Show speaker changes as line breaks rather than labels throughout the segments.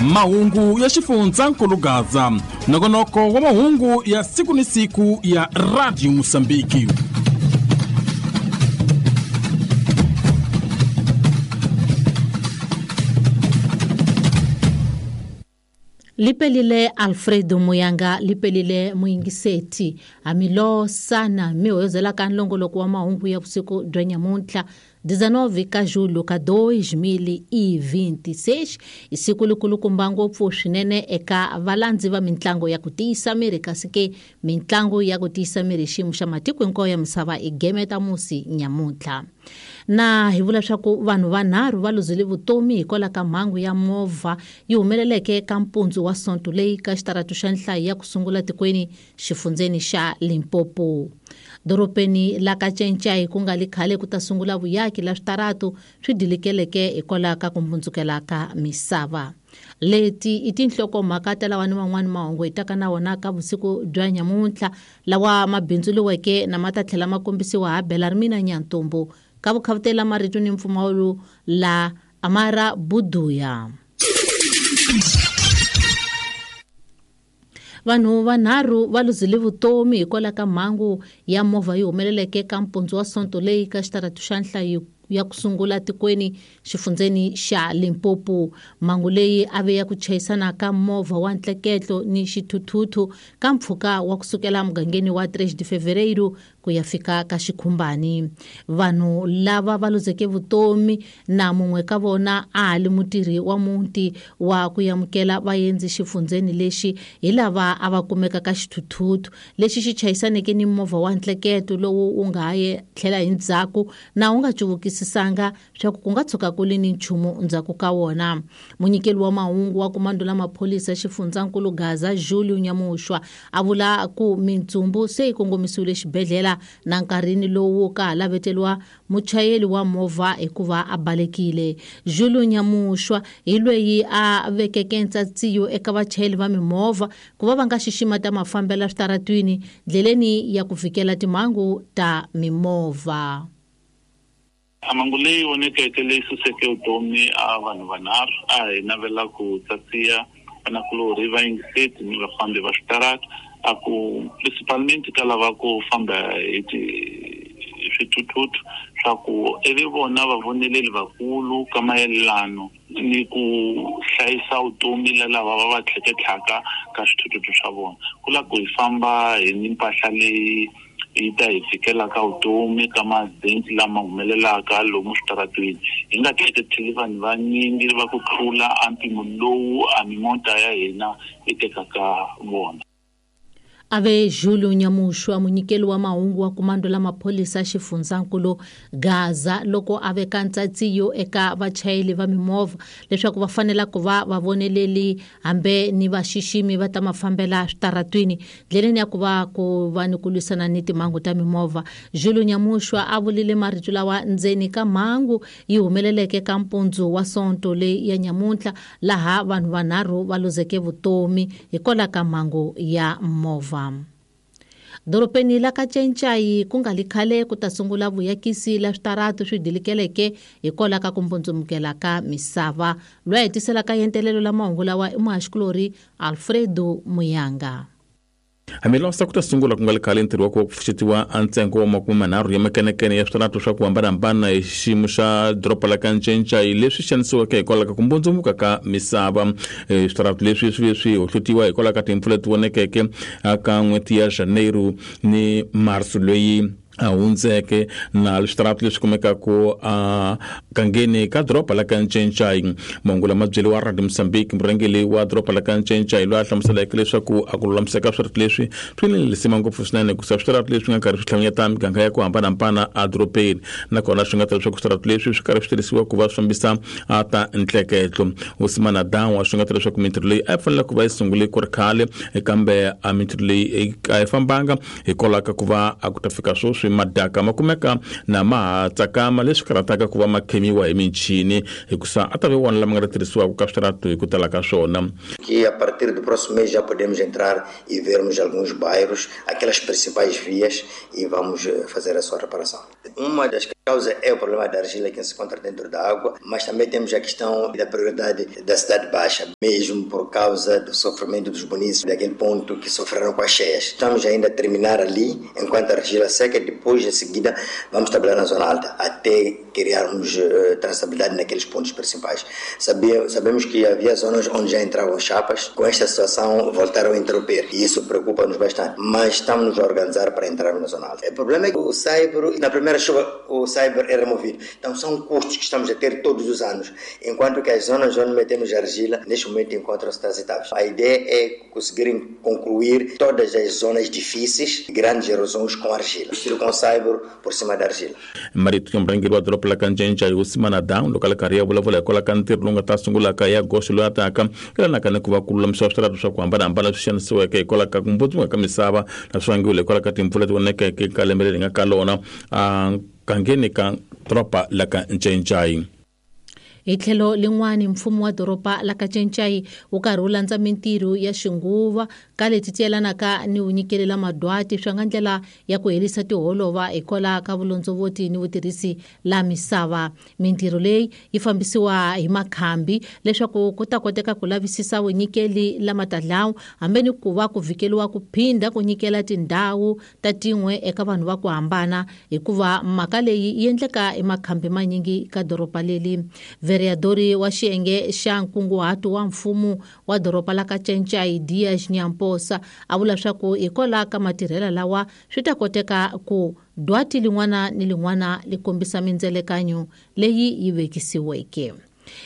Mahungu ya xifundzankulu Gaza, nongonoko wa mahungu ya siku ni siku ya Radio Mosambiki.
Lipelile Alfredo Muyanga, lipelile muyingiseti amilo sana mihoyozela ka nlongoloko wa mahungu ya vusiku bya nyamuntlha 19 ka julho ka 2026 i siku likulukumba ngopfu swinene eka valandzi va mintlango ya ku tiyisa miri, kasi ke mintlango ya ku tiyisa miri xiyimo xa matiko hinkwawo ya misava i geme ta musi nyamuntlha. Na hi vula swa ku vanhu vanharhu va luzile vutomi hikwalaho ka mhangu ya movha yi humeleleke ka mpundzu wa Sonto leyi ka xitaratu xa nhlayo ya ku sungula tikweni xifundzeni xa Limpopo. Dorobeni la ka Cencai ku nga li khale ku ta sungula vuyaki la switaratu swi dilikeleke hikwalaho ka ku mbundzukela ka misava. Leti i tinhlokomhaka ta lawa ni van'wani mahungu hi taka na wona ka vusiku bya nyamuntlha lawa ma bindzuriweke na ma ta tlhela ma kombisiwa ha Belarmina Nyantombo ka vukhavutela marito ni mpfumawulo la Amara Buduya. Vanhu vanharhu va luzile vutomi hikwalaho ka mhangu ya movha yi humeleleke ka mpundzu wa Sonto leyi ka xitaratu xa nhlayo ya ku sungula tikweni xifundzeni xa Limpopo. Mhangu leyi a ve ya ku chayisana ka movha wa ntleketlo ni xithuthuthu ka mpfhuka wa kusukela mugangeni wa 3 de Fevereiro ku ya fika ka Xikhumbani. Vanhu lava va luzeke vutomi na mun'we ka vona a ha li mutirhi wa muti wa ku amukela vaendzi xifundzeni lexi hi lava a va kumeka ka xithuthuthu lexi xi chayisaneke ni movha wa ntleketo lowu wu nga ha ye tlhela hi ndzhaku na wu nga cuvukisisanga swa ku ku nga tshuka ku li ni nchumu ndzhaku ka wona. Munyikeli wa mahungu wa komando la maphorisa xifundzankulu Gaza Julio Nyamushwa a vula ku mintsumbu se yi kongomisiwile xibedhlele na nkarhini lowu ka ha laveteriwa muchayeri wa movha hikuva a balekile. Julio Nyamushwa hi lweyi a vekeke ntsatsiyo eka vachayeri va mimovha ku va va nga xixima ta mafambelo switaratwini ndleleni ya ku fikela timhangu ta mimovha.
Mhangu leyi vonekeke leyi suseke vutomi a vanhu vanharhu a hi navela ku tsatsiya vanakulorhi va yingiseti ni vafambi va switarata, a ku principalmente ka lava ku famba hi swithuthuthu swa ku ivi vona vavoneleli vakulu ka mayelano ni ku hlayisa vutomi la lava va va tlheketlhaka ka swithuthuthu swa vona. Ku lava ku hi famba hi ni mpahla leyi yi ta hi fikela ka vutomi ka ma-accident lama humelelaka lomu switaratweni, hi nga tleketli vanhu vanyingi va ku tlula a mpimo lowu a mimota ya hina yi tekaka vona.
Ave Julio Nyamushwa munyikeli wa mahungu wa komando la maphorisa xifundzankulu Gaza loko a veka ntsatsiyo eka vachayeri va mimovha leswaku va fanela ku va vavoneleli hambe ni vaxiximi va ta mafambela switaratwini ndleleni ya ku va ku va ni ku lwisana ni timhangu ta mimovha. Julio Nyamushwa a vulile marito lawa ndzeni ka mhangu yi humeleleke ka mpundzu wa Sonto leyi ya nyamuntlha laha vanhu vanharhu va luzeke vutomi hikwalaho ka mhangu ya movha. Dorobeni la ka Cencai ku nga li khale ku ta sungula vuyakisi la switaratu swi dilikeleke hikwalaho ka ku mbundzumukela ka misava. Loyi a hetisela ka yentelelo la mahungu lawa i muhaxikulorhi Alfredo Muyanga.
Hambiloko ku ta sungula ku nga li khale ntirho wa ku pfuxetiwa a ntsengo wa 30 ya makenekene ya switaratu swa ku hambanahambana hi xiyimo xa doroba la ka Cencai leswi xanisiweke hikwalaho ka ku mbundzumuka ka misava. Switaratu leswi swi ve swi hohlotiwa hikwalaho ka timpfula leti vonekeke ka n'hweti ya Janeiro ni Marso leyi a hundzeke, na switaratu leswi kumekaka a gangeni ka doroba la ka Cencai. Mahungu lama byeriwa Radio Mozambique murhangeri wa doroba la ka Cencai loyi a hlamuseleke leswaku a ku lulamiseka switaratu leswi swi ni lisima ngopfu swinene hikusa switaratu leswi nga karhi swi hlanganyeta miganga ya ku hambanahambana edorobeni, nakona swi nga ta leswaku switaratu leswi swi karhi swi tirhisiwa ku va swi fambisa a ta ntleketlo. Usimana Dawa swi nga ta leswaku mintirho leyi a yi fanele ku va yi sungule ku ri khale, kambe a mintirho leyi a yi fambanga hikwalaho ka ku va a ku ta fika sweswi leswi madaka ma kumeka na ma ha tsakama leswi karhataka ku va ma khemiwa hi michini hikusa a ta ve wona lama nga ta tirhisiwaka ka switaratu hi ku tala ka swona.
Que a partir do próximo mês já podemos entrar e vermos alguns bairros, aquelas principais vias, e vamos fazer a sua reparação. Uma das causas é o problema da argila que se encontra dentro da água, mas também temos a questão da prioridade da cidade baixa, mesmo por causa do sofrimento dos munícipes daquele ponto que sofreram com as cheias. Estamos ainda a terminar ali, enquanto a argila seca, depois em seguida vamos trabalhar na zona alta, até criarmos traçabilidade naqueles pontos principais. Sabemos que havia zonas onde já entravam chapas, com esta situação voltaram a interromper, e isso preocupa-nos bastante, mas estamos a organizar para entrar na zona alta. O problema é que o saibro, na primeira chuva, o saibro é removido. Então são custos que estamos a ter todos os anos, enquanto que as zonas onde metemos argila, neste momento encontram-se transitáveis. A ideia é conseguirem concluir todas as zonas difíceis, grandes erosões com argila, estilo com saibro por cima da argila.
Marito murhangeri wa doroba la ka Ncencei Hosi Down loko a ri karhi ya vulavula hikwalaho ka ntirho lowu nga ta sungulaka ya goxo loyi a taka yelanaka ni ku va ku lulamisiwa switaratu swa ku hambanahambana leswi xanisiweke hikwalaho ka ku mbundzuka ka misava na swi vangiwile hikwalaho ka timpfula leti vonekeke ka lembe leri hi nga ka lona a gangeni ka doroba la ka Ncencei.
Hi tlhelo lin'wani, mfumo wa doroba la ka Ncencei wu karhi wu landza mintirho ya xinguva ka leti ti yelanaka ni vunyikeli la madwati swi nga ndlela ya ku herisa tiholova hikwalaho ka vulondzovoti ni vutirhisi la misava. Mintirho leyi yi fambisiwa hi makhambi leswaku ku ta koteka ku lavisisa vunyikeli la matadlawu hambi ni ku va ku vhikeliwa ku phinda ku nyikela tindhawu ta tin'we eka vanhu va ku hambana, hikuva mhaka leyi yi endleka emakhambi manyingi ka doroba leli. Vereadori wa xiyenge xa nkunguhato wa mfumo wa doroba la ka Ncencei Dias Nyamposa a vula swa ku hikwalaho ka matirhelo lawa swi ta koteka ku dwati lin'wana ni lin'wana li kombisa mindzelekanyo leyi yi vekisiweke.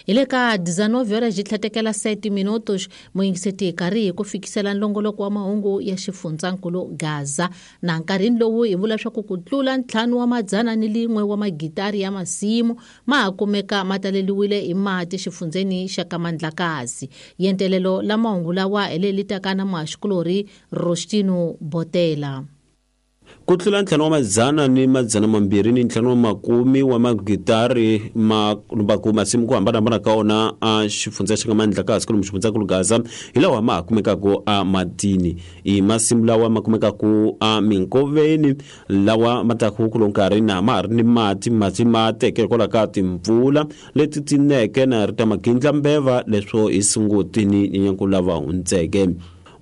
Hi le ka 19 horas ji tlhatekela 7 minutos muyingiseti hi karhi hi ku fikisela nlongoloko wa mahungu ya xifundzankulu Gaza. Na nkarhini lowu hi vula swa ku ku tlula 501 wa magitari ya masimu ma ha kumeka ma taleliwile hi mati xifundzeni xa ka Mandlakazi. Yentelelo la mahungu lawa hi leyi taka na muhaxikulorhi Rostino Botela.
Ku tlula 525 wa magitari ma lumbaku masimu ku hambanahambana ka wona a xifundza xa ka Mandlakazi kumbe xifundzankulu Gaza hi lawa ma ha kumekaka a matini. I masimu lawa ma kumekaka a minkoveni lawa ma taku ku lo nkarhi na ma ha ri ni mati, mati ma teke hikwalaho ka timpfula leti ti neke na ri ta magindlambeva leswo hi Sunguti ni Nyenyankulu lava hundzeke.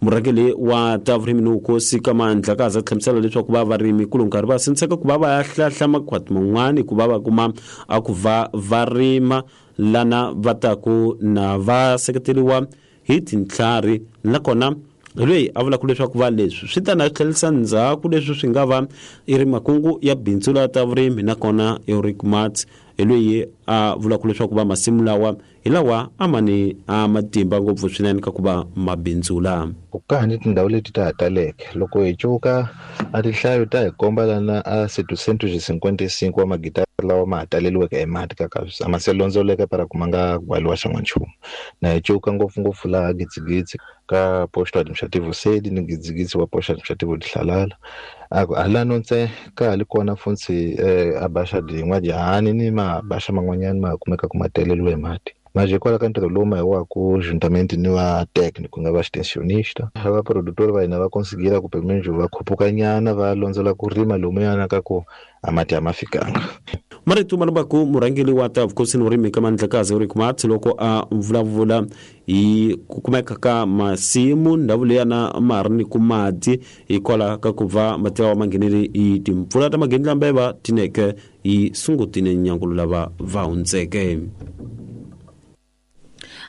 Murhangeri wa ta vurimi ni vukosi ka Mandlakazi a hlamusela leswaku va varimi ku lo nkarhi va sindziseka ku va va ya hlahla makhwati man'wani ku va va kuma a ku va va rima lana va taku na va seketeriwa hi tintlhari, nakona loyi a vulaka leswaku va leswi swi ta na tlherisa ndzhaku leswi swi nga va i ri makungu ya bindzu la ta vurimi, nakona Eric Marx hi loyi a vulaka leswaku va masimu lawa hi lawa a ma ni a matimba ngopfu swinene ka ku va mabindzula.
Ku ka ni tindhawu leti ta ha taleke loko hi cuka a tinhlayo ta hi komba lana a 755 wa magitari lawa ma ha taleliweke hi mati ka a ma se londzoleka para ku ma nga gwaliwa xan'wanchumu. Na hi cuka ngopfungopfu laha Gidzigidzi ka posto administrativo sede ni Gidzigidzi wa posto administrativo Dihlalala. A ku halano ntse ka ha li kona funtsi a baxa din'wa jahani ni mabaxa man'wanyana ma kumeka ku ma taleliwe hi mati. Mas hikwalaho ka ntirho lowu ma hi waku juntamente ni va técnico ku nga va extensionista, va produtor va hina va conseguira ku pelo menos va khuphuka nyana va londzela ku rima lomuyana ka ku a mati a ma fikanga.
Marito ma lumbaku murhangeri wa ta vukosi ni vurimi ka Mandlakazi Eric Marx loko a vulavula hi ku kumeka ka masimu ndhawu leyana ma ha ri ni ku mati hikwalaho ka ku va mati lawa ma nghenele hi timpfula ta magindlambeva ti neke hi Sunguti ni Nyenyankulu lava va hundzeke.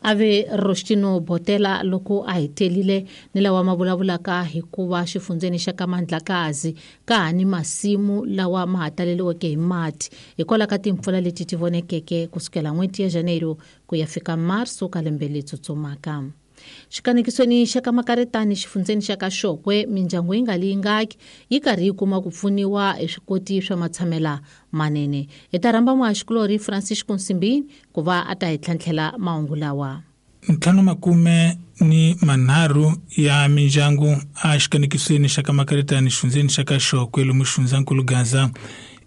Ave Rostino Botela loko a hetelile ni lawa ma vulavulaka hikuva xifundzeni xa ka Mandlakazi ka ha ni masimu lawa ma ha taleliweke hi mati hikwalaho ka timpfula leti ti vonekeke kusukela n'hweti ya Janeiro ku ya fika Marso ka lembe leri tsutsumaka. Xikanekisweni xa ka Makaretani xifundzeni xa ka Xokwe mindyangu yi nga li yingaki yi karhi yi kuma ku pfuniwa hi swikoti swa matshamela manene. Hi ta rhamba muhaxikulorhi Francisco Nsimbini ku va a ta hi tlhantlhela mahungu lawa.
53 ya mindyangu a xikanekisweni xa ka Makaritani xifundzeni xa ka Xokwe lomu xifundzankulu Gaza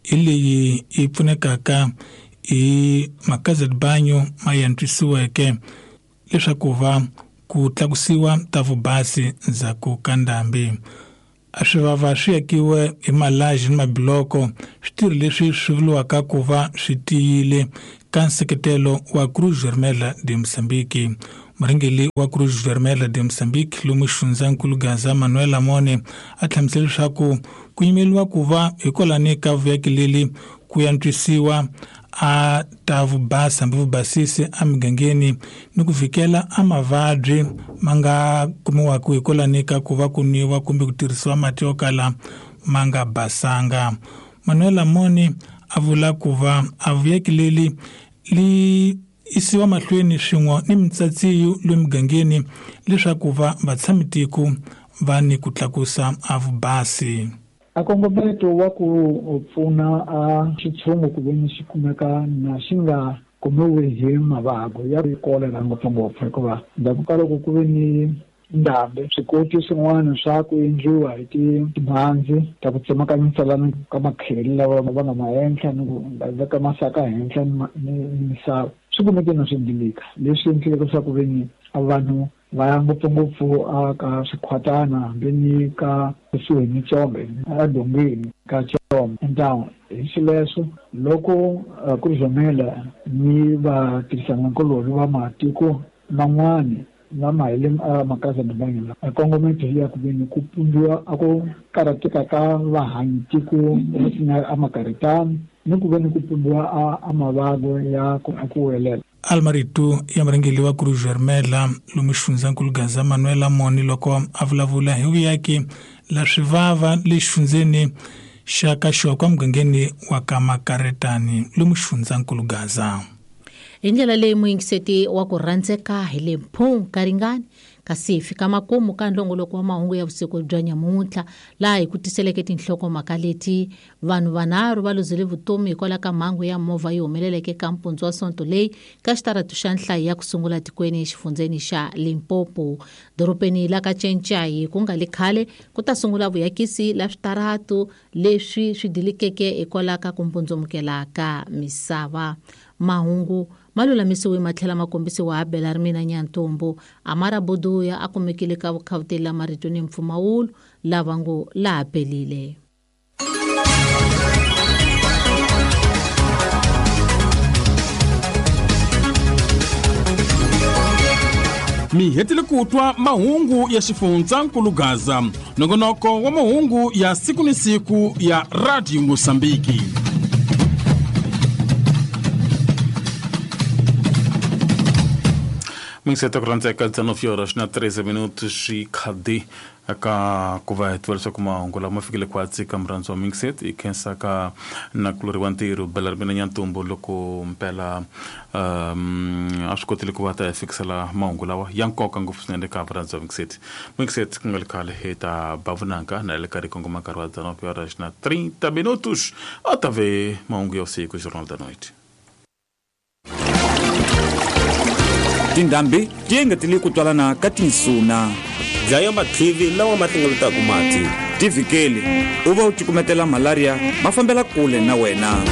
hi leyi yi pfunekaka hi makaza banyo ma yantswisiweke leswaku va ku tlakusiwa ta vubasi ndzhaku ka ndhambi. A swivava swi akiwe hi malaji ni mabiloko switirho leswi swi vuriwaka ku va swi tiyile ka nseketelo wa Cruz Vermelha de Moçambique. Murhangeri wa Cruz Vermelha de Moçambique lomu xifundzankulu Gaza Manuel Amone a hlamusela leswaku ku yimeriwa ku va hikwalani ka vuyaki leli ku yantswisiwa a ta vubasa hambi vubasisi emigangeni ni ku vhikela a mavabyi ma nga kumiwaka hikwalani ka ku va ku nwiwa kumbe ku tirhisiwa mati yo kala ma nga basanga. Manuel Amone a vula ku va a vuyaki leli li isiwa mahlweni swin'we ni mitsatsiyo lomu migangeni leswaku va vatshamitiko va ni ku tlakusa a vubasi.
A kongometo wa ku pfuna a xitshungu ku ve ni xi kumeka na xi nga kumiwi hi mavabyi ya kolera ngopfungopfu hikuva ndzhaku ka loko ku ve ni ndhambi swikoti swin'wana swa ku endliwa hi timhandzi ta ku tsemakanyisa lana ka makheli lawa va nga ma endla ni ku veka masaka henhla ni misava swi kumeke na swi ndilika leswi endleke leswaku ve ni vanhu va ya ngopfungopfu a ka swikhwatana hambi ni ka kusuhi ni Chombe edongeni ka Chombe town. Hi xileswo loko Cruz Vermelha ni vatirhisanankulorhi va matiko man'wani va mahele makaza banyo la kongometo ya ku ve ni ku pumbiwa a ku karhateka ka vahanyi tiko a Makaritani ni ku ve ni ku pumbiwa a mavabyi ya ku welela.
Almarito ya murhangeri wa Cruz Vermelha lomu xifundzankulu Gaza Manuel Amone loko a vulavula hi vuyaki la swivava le xifundzeni xa ka Xokwe emugangeni wa ka Makaritani lomu xifundzankulu Gaza.
Hi ndlela leyi muyingiseti wa ku rhandzeka hi le mphung ka ringani kasi hi fika makumu ka nlongoloko wa mahungu ya vusiku bya nyamuntlha laha hi ku tiseleke tinhlokomhaka leti vanhu vanharhu va luzile vutomi hikwalaho ka mhangu ya movha yi humeleleke ka mpundzu wa Sonto leyi ka xitaratu xa nhlayo ya ku sungula tikweni exifundzeni xa Limpopo. Dorobeni la ka Tšentšayi ku nga le khale ku ta sungula vuyakisi la switaratu leswi swi dilikeke hikwalaho ka ku mbundzumukela ka misava. Mahungu ma lulamisiwe ma tlhela ma kombisiwa ha Bela Rimina Nyantombo Amara Boduya a kumekile ka vukhawuteli la marito ni mpfumawulo lava ngo laha pelile.
Mi hetile ku twa mahungu ya xifundzankulu Gaza, nongonoko wa mahungu ya siku ni siku ya Radio Mosambiki. Mingiseta ku rhandzeka 19 horas na 13 minutos xi khadi eka ku va hi tiva leswaku mahungu lama fikile khwatsi ka murhandzi wa Mixet hi khensa ka nakulori wa ntirho Bela Rimina Nyantombo loko mpela a swi kotile ku va ta hi fikisela mahungu lawa ya nkoka ngopfu swinene ka murhandzi wa Mixet. Mixet ku nga le khale hi ta ba vunanga na le karhi kongoma nkarhi wa 19 horas na 30 minutos a ta ve mahungu ya vusiku Jornal da Noite.
Tindhambi ti engetele ku twalana ka tinsuna.
Dlaya mathivi lawa ma hlengeletaka mati.
Ti vhikeli u va u cukumetela malaria ma fambela kule na wena.